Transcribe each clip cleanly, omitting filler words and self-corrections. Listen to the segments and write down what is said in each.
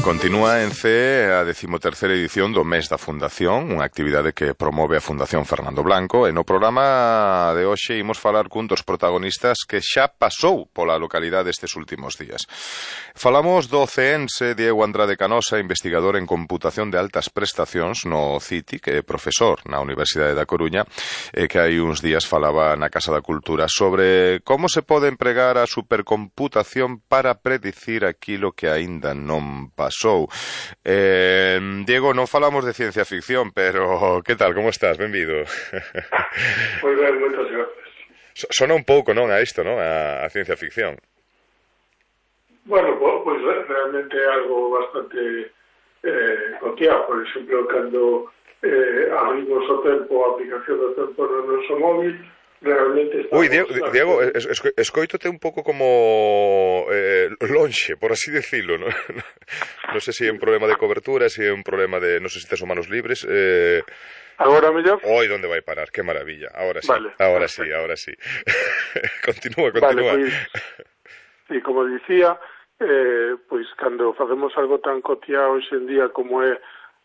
Continúa en CEE a 13ª edición do Mes da Fundación, unha actividade que promove a Fundación Fernando Blanco, e no programa de hoxe imos falar cun dos protagonistas que xa pasou pola localidade estes últimos días. Falamos do ceense Diego Andrade Canosa, investigador en computación de altas prestacións no CITI, que é profesor na Universidade da Coruña, e que hai uns días falaba na Casa da Cultura sobre como se pode empregar a supercomputación para predicir aquilo que aínda non pasou. Diego, non falamos de ciencia ficción, pero que tal, como estás? Benvido. Moi ben, moitas gracias. Sona un pouco, non, a isto, non? A ciencia ficción. Bueno, pois realmente é algo bastante cotiá. Por exemplo, cando abrimos o tempo, a aplicación do tempo no noso móvil, realmente estamos... Ui, Diego, escoítote un pouco como lonxe, por así decirlo, non? Non sei se é un problema de cobertura, se é un problema de... Non sei se tes os manos libres. Agora mellor? Oi, onde vai parar? Que maravilla. Ahora sí, vale, ahora sí. Continúa. Vale, pois, e como dicía, pois cando facemos algo tan cotiá hoxe en día como é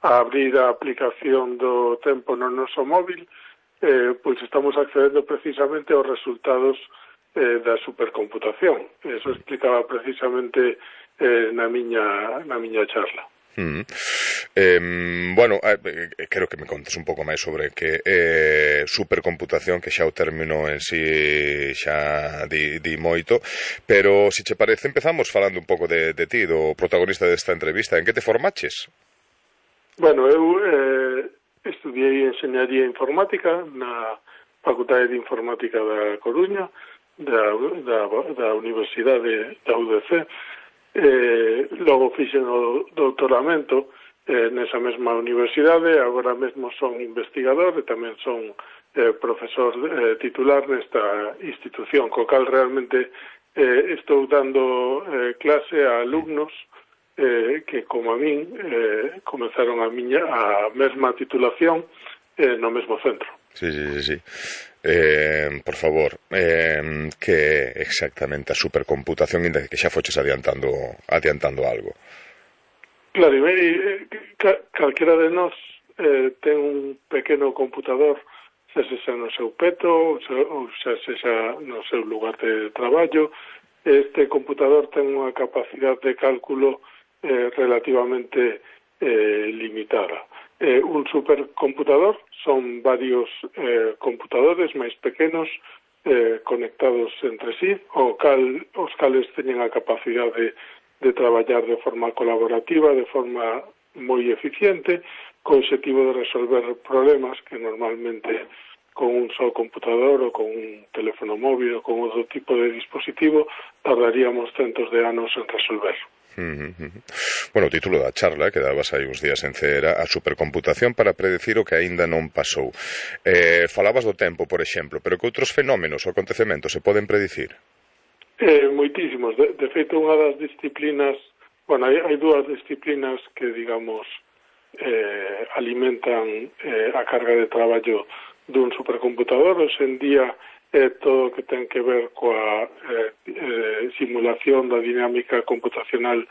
abrir a aplicación do tempo no noso móvil, pois estamos accedendo precisamente aos resultados da supercomputación. Eso explicaba precisamente na miña charla. Bueno, quero que me contes un pouco máis sobre que supercomputación, que xa o término en si xa di moito, pero se che parece empezamos falando un pouco de ti, do protagonista desta entrevista. En que te formaches? Bueno, eu estudiei Enxeñaría Informática na Facultade de Informática da Coruña, da Universidade da UDC. Logo fixen o doutoramento nesa mesma universidade. Agora mesmo son investigador e tamén son profesor titular nesta institución, co cal realmente estou dando clase a alumnos que, como a min, comenzaron a mesma titulación no mesmo centro. Sí. Por favor, que é exactamente a supercomputación, inda que xa foches adiantando algo? Claro, calquera de nós ten un pequeno computador, xa sexa no seu peto ou xa sexa no seu lugar de traballo. Este computador ten unha capacidade de cálculo relativamente limitada. Un supercomputador son varios computadores máis pequenos conectados entre sí, os cales teñen a capacidade de traballar de forma colaborativa, de forma moi eficiente, co obxectivo de resolver problemas que normalmente con un só computador ou con un teléfono móvil ou con outro tipo de dispositivo tardaríamos centos de anos en resolver. Bueno, o título da charla que dabas aí uns días en CEE era a supercomputación para predecir o que aínda non pasou. Falabas do tempo, por exemplo, pero que outros fenómenos ou acontecementos se poden predicir? Moitísimos. De feito, unha das disciplinas, bueno, hai dúas disciplinas que, digamos, alimentan a carga de traballo dun supercomputador. Hoxe en día todo o que ten que ver coa simulación da dinámica computacional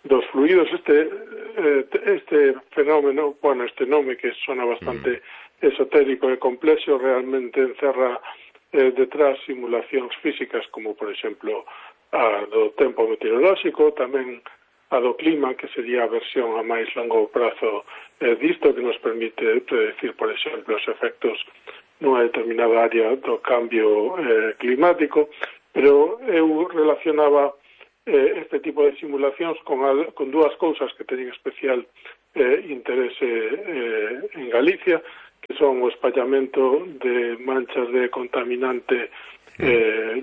dos fluidos. Este fenómeno, bueno, este nome que sona bastante esotérico e complexo, realmente encerra detrás simulacións físicas como, por exemplo, a do tempo meteorolóxico, tamén a do clima, que sería a versión a máis longo prazo disto, que nos permite predecir, por exemplo, os efectos nunha determinada área do cambio climático, pero eu relacionaba este tipo de simulacións con dúas cousas que teñen especial interese en Galicia, que son o espallamento de manchas de contaminante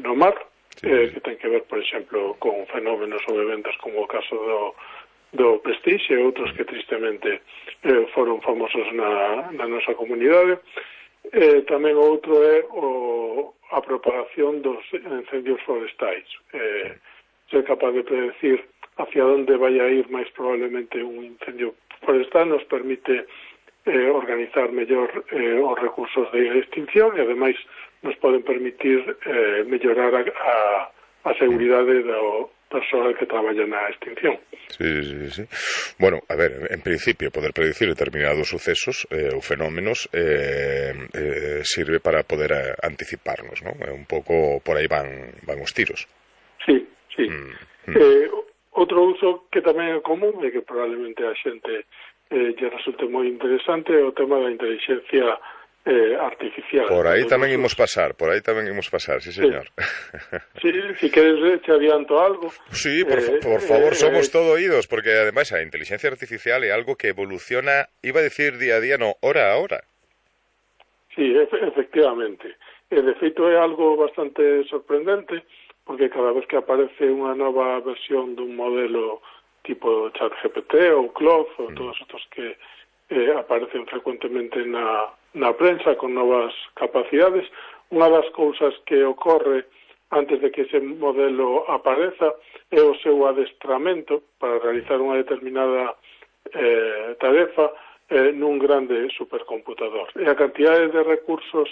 no mar, que ten que ver, por exemplo, con fenómenos ou eventos como o caso do Prestige e outros que tristemente foron famosos na nosa comunidade. Tamén outro é a propagación dos incendios forestais. Ser capaz de predecir hacia onde vai a ir máis probablemente un incendio forestal nos permite organizar mellor os recursos de extinción e ademais nos poden permitir mellorar a seguridade persoal que traballa na extinción. Sí. Bueno, a ver, en principio, poder predicir determinados sucesos ou fenómenos sirve para poder anticiparnos, ¿no? Un pouco por aí van os tiros. Sí. Outro uso que tamén é común e que probablemente a xente lle resulte moi interesante é o tema da inteligencia artificial. Por aí tamén imos pasar, sí, señor. Sí, si queres te adianto algo. Sí, por favor, somos todo oídos, porque ademais a inteligencia artificial é algo que evoluciona, iba a decir día a día, no, hora a hora. Sí, efectivamente. De feito é algo bastante sorprendente, porque cada vez que aparece unha nova versión dun modelo tipo ChatGPT ou Claude ou todos estos que aparecen frecuentemente na prensa con novas capacidades, unha das cousas que ocorre antes de que ese modelo apareza é o seu adestramento para realizar unha determinada tarefa nun grande supercomputador. E a cantidade de recursos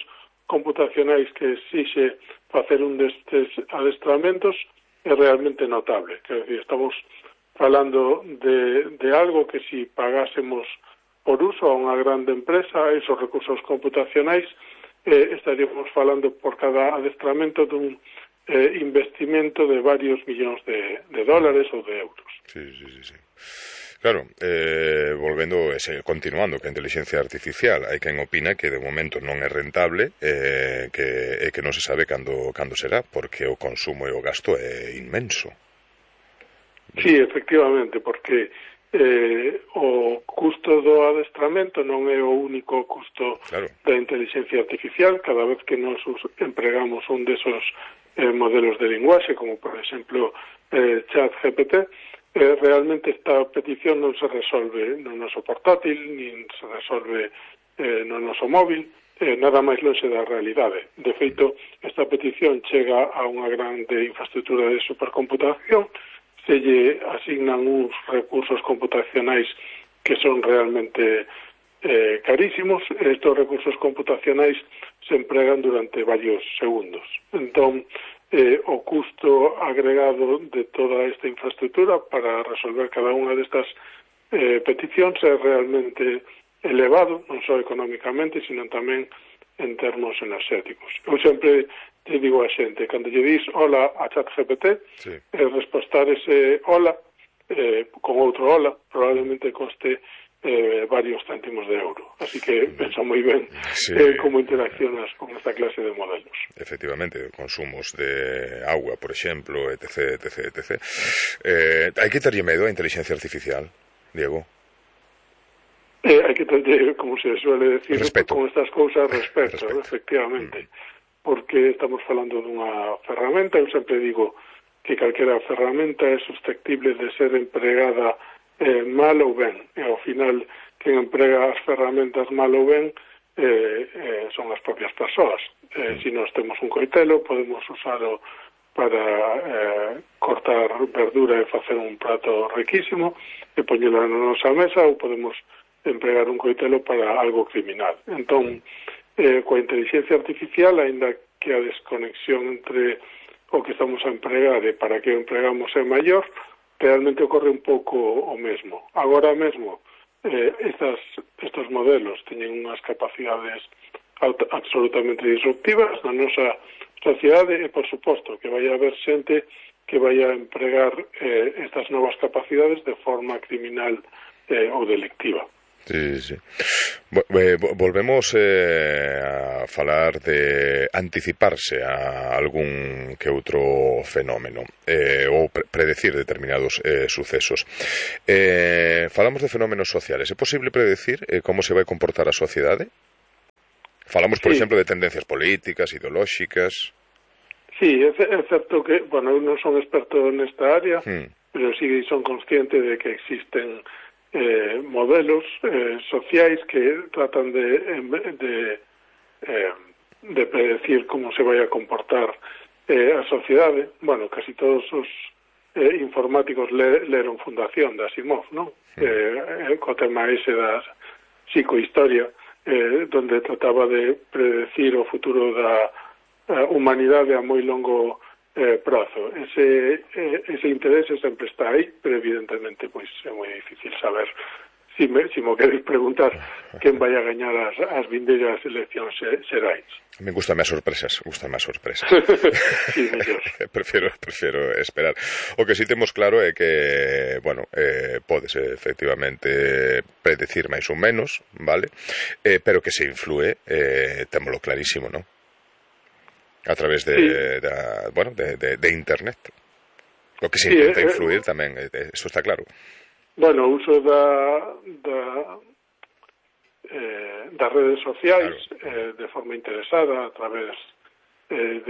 computacionais que exixe facer un destes adestramentos é realmente notable. Quer decir, estamos falando de algo que si pagásemos por uso a unha grande empresa, esos recursos computacionais, estaríamos falando por cada adestramento dun investimento de varios millóns de dólares ou de euros. Sí. Claro, continuando que a inteligencia artificial hai quen opina que de momento non é rentable que non se sabe cando será, porque o consumo e o gasto é inmenso. Sí, efectivamente, porque o custo do adestramento non é o único custo da inteligencia artificial. Cada vez que nos empregamos un desos modelos de linguaxe, como por exemplo ChatGPT, realmente esta petición non se resolve no noso portátil, nin se resolve no noso móvil, nada máis lonxe da realidade. De feito, esta petición chega a unha grande infraestructura de supercomputación, se lle asignan uns recursos computacionais que son realmente carísimos. Estos recursos computacionais se empregan durante varios segundos. Entón, o custo agregado de toda esta infraestructura para resolver cada unha destas peticións é realmente elevado, non só económicamente, sino tamén en termos enerxéticos. Eu sempre te digo a xente, cando lle dis hola a ChatGPT, respostar ese hola con outro hola probablemente coste varios céntimos de euro. Así que pensa moi ben como interaccionas con esta clase de modelos. Efectivamente, consumos de agua, por exemplo, etc. Hai que terlle medo a inteligencia artificial, Diego? Hai que terlle, como se suele decir, respeto. Con estas cousas, respeto. Efectivamente. Porque estamos falando dunha ferramenta. Eu sempre digo que calquera ferramenta é susceptible de ser empregada mal ou ben, e ao final quen emprega as ferramentas mal ou ben son as propias persoas. Se nós temos un coitelo, podemos usalo para cortar verdura e facer un prato riquísimo e poñelo na nosa mesa, ou podemos empregar un coitelo para algo criminal. Entón, coa inteligencia artificial, aínda que a desconexión entre o que estamos a empregar e para que o empregamos é maior, realmente ocorre un pouco o mesmo. Agora mesmo, estos modelos teñen unhas capacidades absolutamente disruptivas na nosa sociedade e, por suposto, que vai haber xente que vai a empregar estas novas capacidades de forma criminal ou delictiva. Sí. Volvemos a falar de anticiparse a algún que outro fenómeno ou predecir determinados sucesos. Falamos de fenómenos sociales. É posible predecir como se vai comportar a sociedade? Falamos, por exemplo, de tendencias políticas, ideolóxicas. Sí, é certo que, eu non son experto nesta área, pero sí son consciente de que existen modelos sociais que tratan de predecir como se vai a comportar a sociedade. Casi todos os informáticos leron Fundación de Asimov, non? Co tema ese da psicohistoria, donde trataba de predecir o futuro da humanidade a moi longo prazo. Ese interese sempre está aí, pero evidentemente pois é moi difícil saber. Si me queres preguntar quen vai a gañar as vindeiras eleccións xerais. Me gustan as sorpresas. Sí, mellor. Prefiro esperar. O que si temos claro é que, bueno, podes efectivamente predecir máis ou menos, vale? Pero que se influe, témolo clarísimo, non? A través de internet. O que se intenta influir tamén, eso está claro. Bueno, o uso das redes sociais, claro, de forma interesada, a través de